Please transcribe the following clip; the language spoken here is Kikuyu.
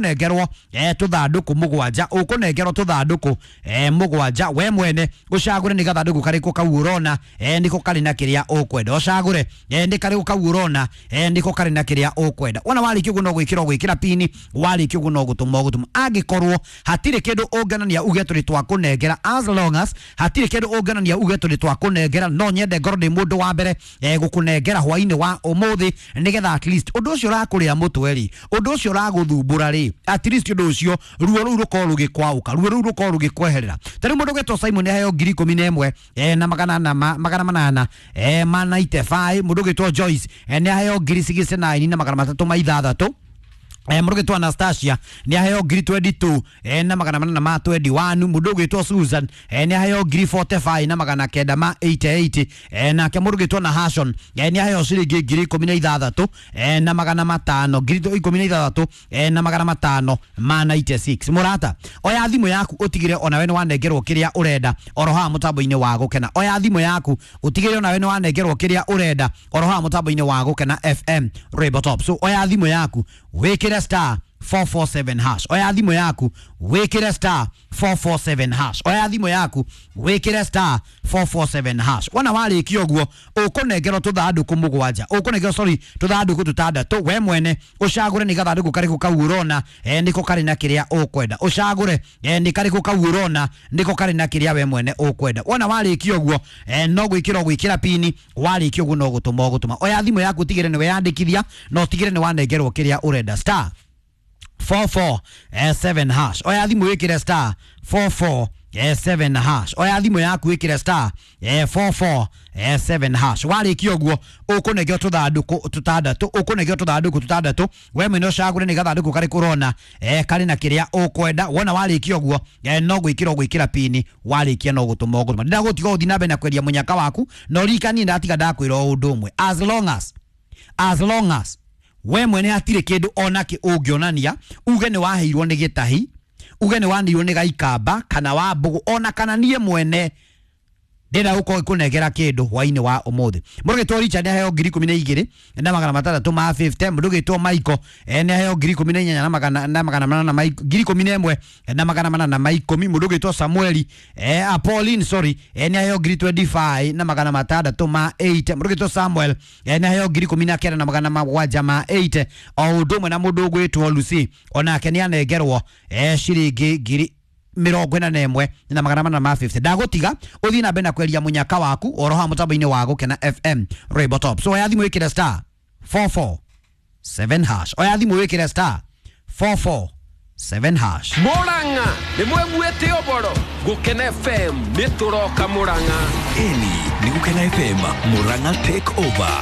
Ũkũnengerwo tũthandũkũ mũgwanja, ũkũnengerwo tũthandũkũ mũgwanja. We mwene ũcagũre nĩ gathandũkũ karĩkũ kau ũrona nĩko karĩ na kĩrĩa ũkwenda. Ũcagũre nĩ karĩkũ kau ũrona nĩko karĩ na kĩrĩa ũkwenda. Wona warĩkia ũguo no gwĩkĩra ũgwĩkĩra pini, warĩkia ũguo no gũtũma ũgũtũma. Angĩkorwo hatirĩ kĩndũ ũngĩonania uge tũrĩ twakũnengera, as long as hatirĩ kĩndũ ũngĩonania uge tũrĩ twakũnengera, no nyende ngorwo ndĩ mũndũ wa mbere gũkũnengera hwainĩ wa ũmũthĩ, nĩgetha at least ũndũ ũcio ũrakũrĩa mũtwe rĩ, ũndũ ũcio ũragũthumbũra rĩ, at least ũndũ ũcio ruo rũu rũkorwo rũgĩkwaũka, ruo rũu rũkorwo rũgĩkweherera. Ta rĩu mũndũ ũgwĩtwo Simon aheo 11,800 ma 95. Mũndũ ũgwĩtwo Joyce nĩ aheo 69,306. Mũndũ ũgwĩtwo Anastasia nĩ aheo 22,421. Mũndũ ũgwĩtwo Susan nĩ aheo 45,988. Nake mũndũ ũgwĩtwo Nahashon nĩ aheo ciringi 16,500, 16,500 ma 96. Mũrata, oya thimũ yaku ũtigĩre onawe nĩ wanengerwo kĩrĩa ũrenda oro haha mũtambo-inĩ wa Gũkena. Oya thimũ yaku ũtigĩre onawe nĩ wanengerwo kĩrĩa ũrenda oro haha mũtambo-inĩ wa Gũkena FM Rainbow Top. So oya thimũ yaku wĩkĩre *447#. Oya thimũ yaku wĩkĩre *447#. Oya thimũ yaku wĩkĩre *447#. Wona warĩkia ũguo ũkũnengerwo tũthandũkũ mũgwanja, ũkũnengerwo, sorry, tũthandũkũ tũtandatũ. We mwene ũcagũre nĩ gathandũkũ karĩkũ kau ũrona nĩko karĩ na kĩrĩa ũkwenda. Ũcagũre nĩ karĩkũ kau ũrona nĩko karĩ na kĩrĩa we mwene ũkwenda. Wona warĩkia ũguo no gwĩkĩra ũgwĩkĩra pini, warĩkia ũguo no gũtũma ũgũtũma. Oya thimũ yaku ũtigĩre nĩ weyandĩkithia na ũtigĩre nĩ wanengerwo kĩrĩa ũrenda, *447#. Oya thimũ wĩkĩre *447#. Oya thimũ yaku wĩkĩre *447#. Warĩkia ũguo ũkũnengerwo tũthandũkũ tũtandatũ, ũkũnengerwo tũthandũkũ tũtandatũ. We mwene ũcagũre nĩ gathandũkũ karĩkũ ũrona karĩ na kĩrĩa ũkwenda. Wona warĩkia ũguo no gwĩkĩra ũgwĩkĩra pini, warĩkia no gũtũma ũgũtũma. Ndĩragũtiga ũthiĩ na mbere na kwendia mũnyaka waku, na ũririkanie ndatiga ndakwĩra o ũndũ ũmwe, as long as we mwene hatirĩ kĩndũ onakĩ ũngĩonania uge nĩ waheirwo nĩ gĩtahi, uge nĩ wanĩirwo nĩ gaikamba kana wa mbũgũ, ona kana niĩ mwene ndĩrenda gũkorwo ngĩkũnengera kĩndũ hwainĩ wa ũmũthĩ. Mũndũ ũgĩtwo Richard nĩ aheo 12,650. Mũndũ ũgĩtwo Michael nĩ aheo 18,800 11,810. Mũndũ ũgĩtwo Samueli, Pauline, sorry, nĩ aheo 25,680. Mũndũ ũgĩtwo Samuel nĩ aheo 19,780. O ũndũ ũmwe na mũndũ ũgwĩtwo Lucy, onake nĩ anengerwo ciringi 41,450. Ndagũtiga ũthiĩ na mbere na kweria mũnyaka waku oro haha mũtambo-inĩ wa Gũkena FM Rainbow Top. So oya thimũ wĩkĩre *447#. Oya thimũ wĩkĩre *447#. Murang'a nĩ mweguĩte ũboro Gũkena FM nĩ tũroka Murang'a. Ĩni nĩ Gũkena FM Murang'a take over.